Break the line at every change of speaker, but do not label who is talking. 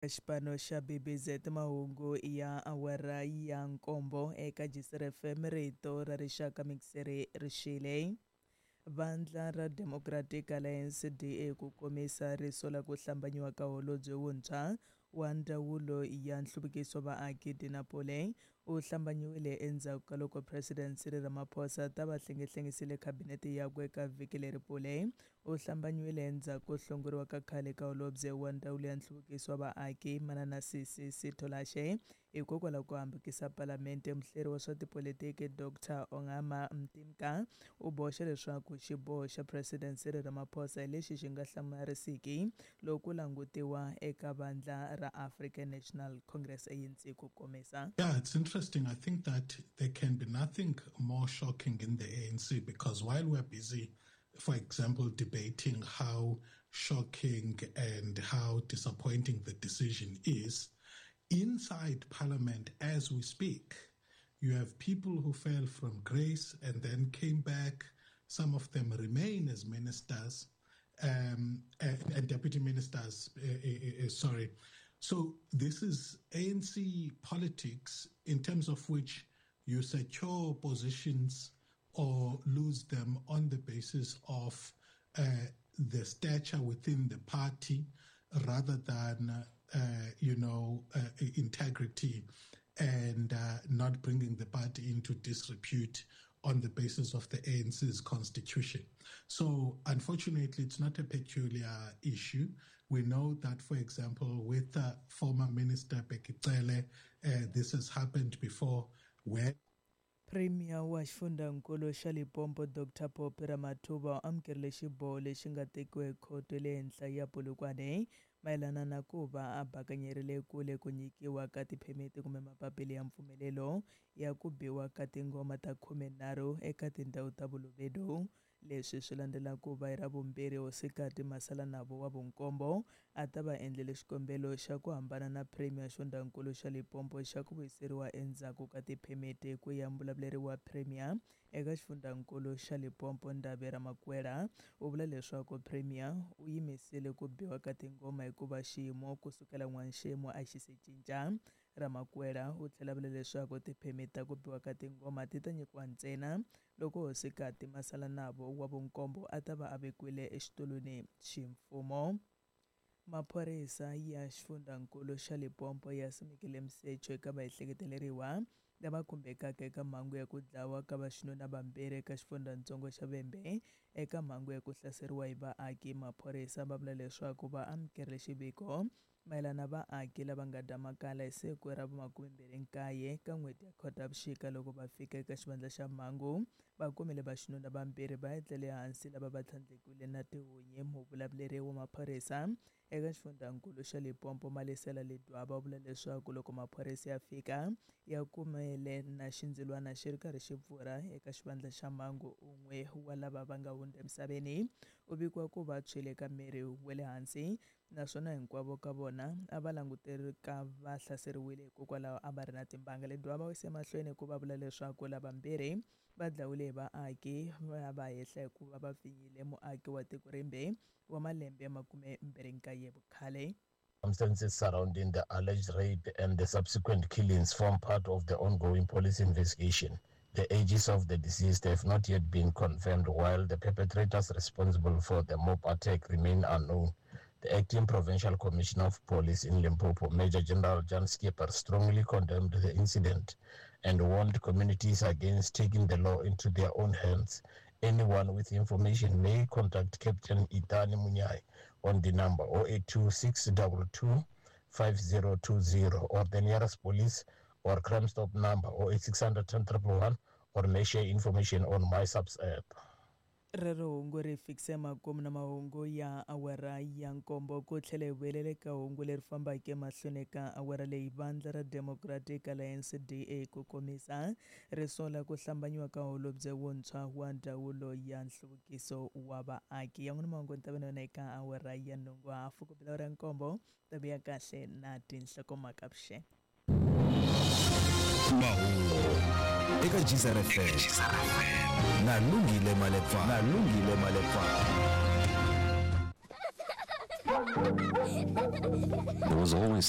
Xipano xa BBZ mahungu ya awara ya nkombo eka Jisr FM rito ra rixaka mixere rixile. Vandla ra Democratic Alliance DA ku komisa ri sola ku hlambanyiwa ka holobye wuntshwa wa ndzawulo ya nhluvukiso wa vaaki Dina Pule u hlambanyiwile endzhaku ka loko President Cyril Ramaphosa ta va hlengehlengisile khabinete yakwe eka vhiki leri. Pule u hlambanyiwile endzhaku ko hlongoriwa ka khale ka holobye wa ndzawulo ya nhluvukiso wa vaaki Manana Sisi Sitholashe hikokwalaho ko hambukisa palamente. Muhleri wa swa tipolitiki Dr Ongama Mtimka u boxe leswaku xiboho xa President Cyril Ramaphosa hi lexi xi nga hlamarisiki loko ku langutiwa eka vandla ra African National Congress ANC ku komisa.
Yeah, it's interesting. I think that there can be nothing more shocking in the ANC because while we're busy, for example, debating how shocking and how disappointing the decision is, inside Parliament as we speak, you have people who fell from grace and then came back. Some of them remain as ministers and deputy ministers, sorry. So this is ANC politics in terms of which you secure positions or lose them on the basis of the stature within the party rather than, integrity and not bringing the party into disrepute on the basis of the ANC's constitution. So unfortunately, it's not a peculiar issue. We know that, for example, with former Minister Bheki Cele, this has happened before where
Premier wa xifundzankulu xa Limpopo Dr Phophi Ramathuba u amukerile xiboho lexi nga tekiwa hi khoto ya le henhla ya Polokwane mayelana na ku va a bakanyerile kule ku nyikiwa ka tiphemiti kumbe mapapila ya mpfumelelo ya ku biwa ka tingoma ta 13 eka tindhawu ta Bolobedu. Leswi swi landzela ku va hi Ravumbirhi Hosikati Masalanabo wa vunkombo a ta va endlele xikombelo xa ku hambana na Premier xifundzankulu xa Limpopo xa ku vuyiseriwa endzhaku ka tiphemiti ku ya muvulavuleri wa Premier eka xifundzankulu xa Limpopo Ndavhe Ramakuela u vula leswaku Premier u yimisile ku biwa ka tingoma hikuva xiyimo kusukela n'waxemu a xi se cinca. Ramakuela u tlhela vula leswaku tiphemiti ta ku biwa ka tingoma ti ta nyikiwa ntsena loko Hosikati Masalanabo wa vunkombo a ta va a vekiwile exitulwini ximfumo. Maphorisa ya xifundzankulu xa Limpopo ya simekile misecho eka vaehleketeleriwa lava khumbekaka eka mhangu ya ku dlawa ka vaxinuna vambirhi eka xifundzatsongo xa Vhembe eka mhangu ya ku hlaseriwa hi vaaki. Maphorisa va vula leswaku va amukerile xiviko mayelana vaaki lava nga dya makala hi siku ra vu29 ka n'hweti ya Khotavuxika. Loko va fika eka xivandla xa mhangu va kumile vaxinuna vambirhi va etlele hansi lava va tlhandlekiwile na tihunyi. Muvulavuleri wa maphorisa eka xifundzankulu xa Limpopo Malesela Ledwaba u vula leswaku loko maphorisa ya fika ya kumele na xindzilwana xi ri karhi xi pfurha eka xivandla xa mhangu. Un'we wa lava va nga hundza emisaveni u vikiwa ku va tshwile eka miri wa le hansi naswona hinkwavo ka vona a va languteleka va hlaseriwile hikokwalaho a va ri na timbanga. Ledwaba u yise emahlweni ku va vula leswaku lavambirhi va dlawile hi vaaki va va hehla hikuva va pfinyile muaki wa tiko rimbe wa malembe ya 29 vukhale.
Circumstances surrounding the alleged rape and the subsequent killings form part of the ongoing police investigation. The ages of the deceased have not yet been confirmed, while the perpetrators responsible for the mob attack remain unknown. The acting provincial commissioner of police in Limpopo, Major General Jan Skipper, strongly condemned the incident and warned communities against taking the law into their own hands. Anyone with information may contact Captain Itani Munyai on the number 082 622 5020 or the nearest police or Crime Stop number 08600 10 111 or may share information on MySAPS app.
Rero hungu ri fikise makumu na mahungu ya awara ya nkombo ku tlhela hi vuyelela eka hungu leri fambaka emahlweni ka awara leyi. Vandla ra Democratic Alliance DA ku komisa ri sola ku hlambanyiwa ka holobye wuntshwa wa ndzawulo ya nhluvukiso wa vaaki. Yan'wana mahungu ni ta va na yona eka awara ya nhungu hafu ku bela awara ya nkombo ta vuya kahle na tinhlokomhaka vuxeni.
Mahungu eka Geyser FM na Lungile Malepa, na Lungile Malepa.
There was always